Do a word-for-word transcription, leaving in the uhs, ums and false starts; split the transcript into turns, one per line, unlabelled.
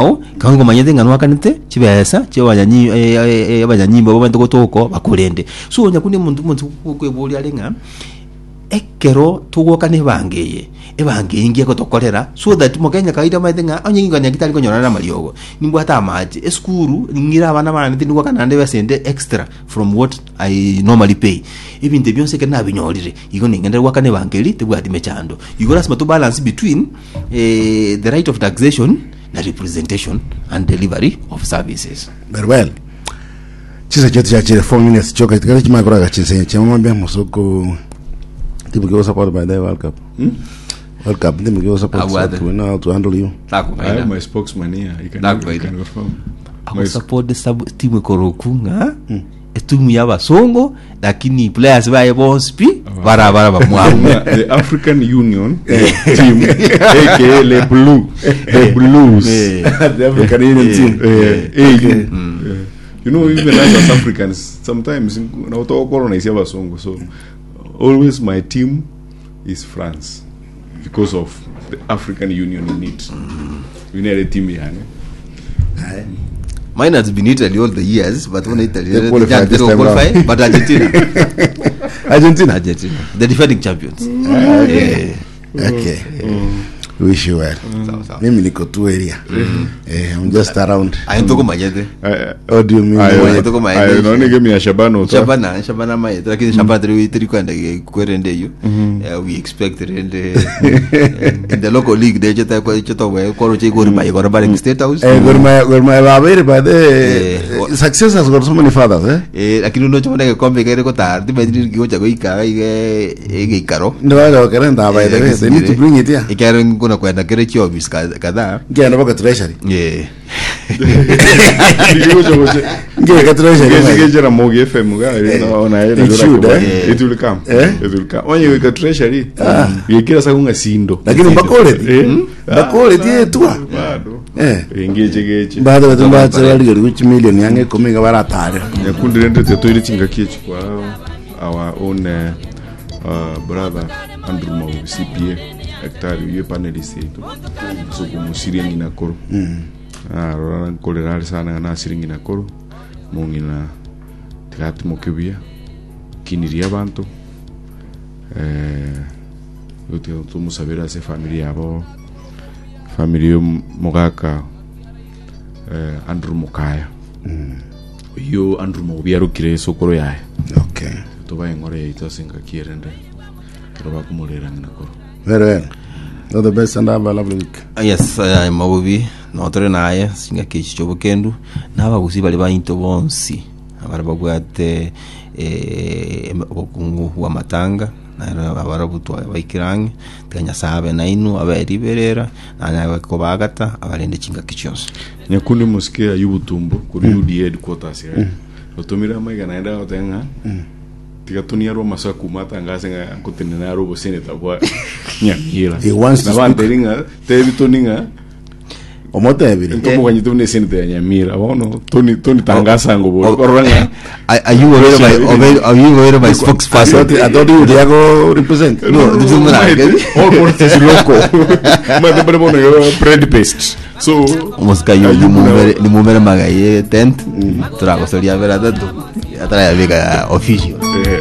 Kang'o komanyete ng'a nwakanete chibesa chia abanyanyi eh, eh, eh, abanyanyimbo abwo bamaete gotoka bakorende. So nyakundi omonto omonto okweboria are ng'a ekero togokana ebango eye, ebango eye nki egotokorera so that mokenya kawaida omanyete ng'a onye ng'ina tari konyorana na amariogo, nimbwate amache, esukuru ning'ire abana bane tindi goakana naende ebesa ende extra from what I normally pay. Ebinto ebi bionsi ekero nabinyorire, igo ning'ende goakana ebango eria tebwati mechando. Igo lasima to balance between eh, the right of taxation na representation and delivery of services.
Very well. Chisa chetu chachire four minutes choka tikare chimaya koraga chinsenye chia mambia musoko timu kiwa support by the World Cup. World Cup timu kiwa support
Abwate.
so we know how to handle you.
I have
Takufaida.
my spokesman here. He can,
Nakufaida.
he can confirm. My
Agosupport sub timu ekoroku ng'a etimu ya abasongo lakini players baye bonsi pi barabara bamwabo.
the African Union team, aka Le Blue, the Blues.
The African Union team.
Eh, AU. Eh, You know, even us as Africans, sometimes na colonize abasongo. So always my team is France because of the African Union in it. We need a team yani.
Mine has been Italy all the years, but when Italy
They qualified this time
qualify,
round.
but Argentina,
Argentina.
Argentina, the defending champions. Eh,
Okay. Wish you well.
sawa sawa.
Mimi niko tu area. Eh, I'm just around.
Aye ntukumanyete.
What do you mean?
Ayo. tuko maendeleo.
Ayo, naona game ya Shabana uta.
Shabana, Shabana mayete, lakini Shabana tiri tiri kwenda kwerende iyo. Eh, we expect rende in the local league de cheta kwa cheta we koro che gori maye koro bare state house.
Eh, Gor Mahia Gor Mahia babere by the
Eh,
success has got so many fathers eh.
Eh, lakini unocho mone gekombe kere kotar timanyiri gigocha goika ige egeikaro.
Ndio kerenda by the way they need to bring it here.
Ikero nguna kwenda kere chiobis kadhaa.
Ngenda baka treasury.
Yeah.
Ngenda ka treasury.
Ngejera Mogi FM ga na
It should, eh?
It will come.
Eh?
It will come. Onye wika treasury. Yekira sakunga sindo.
Lakini mbakoleti.
Eh?
Mbakoleti etua.
Bado.
Eh.
Ngeche geche.
Baada batu mbatse bali gari kuchi million yange ikumi nga baratare.
Nyakundi rende tetoire chingaki echi kwa our own uh, uh, brother Andrew Mau CPA daktari uye panelist yetu so kumusirie ng'ina koro ah rora nkorera ari sana na asiri ng'ina koro mong'ina tigatimoke buya kiniria abanto eh gotiga tumusabira ase family yabo family yo mogaka eh, Andrew Mukaya oyo Andrew Maubi arokire esokoro yaye
Okay.
tobae eng'oro yaito ase engaki erende kero bakomorera ng'ina koro
Very well. All the best and have a lovely week.
Yes, uh, mabubi notore naye singaki echi chobokendu nabagusi bari bainto bonsi abara babwate eh, em- obokungu bwa matanga naero abarabutwa baikirang'e tiga nyasaye abe nainu abe riberera nanya kobagata abarende chingaki chionsi
nyakundi mosike ayubu tumbo kuri UDA headquarters mm. otumire amaiga naende agoteba ng'a tiga toniarwa amaso akuma atangase ng'a nkotenena are oboseneta bwa Nyamira
He wants to
nabanteri ng'a tebi toni ng'a
Omotebire.
ntomoganyete buna eseneta ya Nyamira bono toni toni tangasa ngo bori korora ng'a
ayubu obere my obere ayubu obere my spokesperson
I thought I thought you would go represent.
No, this is not
all politics local mate bari bono yo bread paste so
omosika ayu nimumere nimumere magaye tent turagosoria bera tatu atarayabika official
eh,